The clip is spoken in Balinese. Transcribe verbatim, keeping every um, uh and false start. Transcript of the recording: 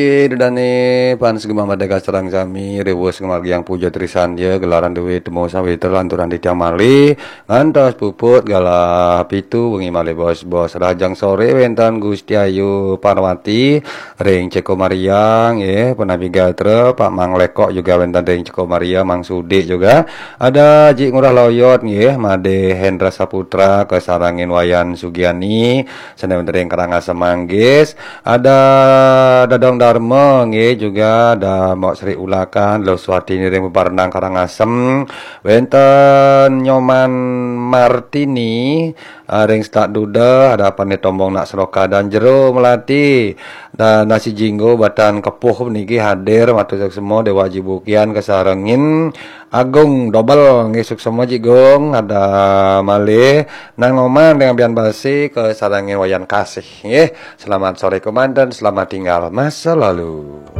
Dudane pan segema madega sareng sami, riwus ngamargiang puja trisandia, gelaran duit temu sawitra lanturan titiang malih, ngantos puput galah pitu wengi malih bos-bos. Rahajeng sore wenten Gusti Ayu Parwati ring Ceko Maria nggih, punapi gatra, Pak Mang Lekok juga wenten ring Ceko Maria, Mang Sudi juga. Ada Ji Ngurah Loyot nggih, Made Hendra Saputra, kasarengin Wayan Sugiani, sane wenten ring Karangasem Manggis. Ada Dadong Darma nggih, juga ada Mbok Sri Ulakan, Luh Swatini ring Bebarenang Karangasem. Wenten Nyoman Martini, ah, ring Setak Duda, ada Pane Tombong Nak Seroka dan Jero Melati. Dan Nasi Jinggo Batan Kepuh niki hadir, matur suksma Dewa Jibukian kasarengin Agung Dobel nggih, suksma Ji Gung, ada malih Nang Oman dengan Bian Basi kasarengin Wayan Kasih nggih. Selamat sore kemanten, selamat tinggal masa lalu.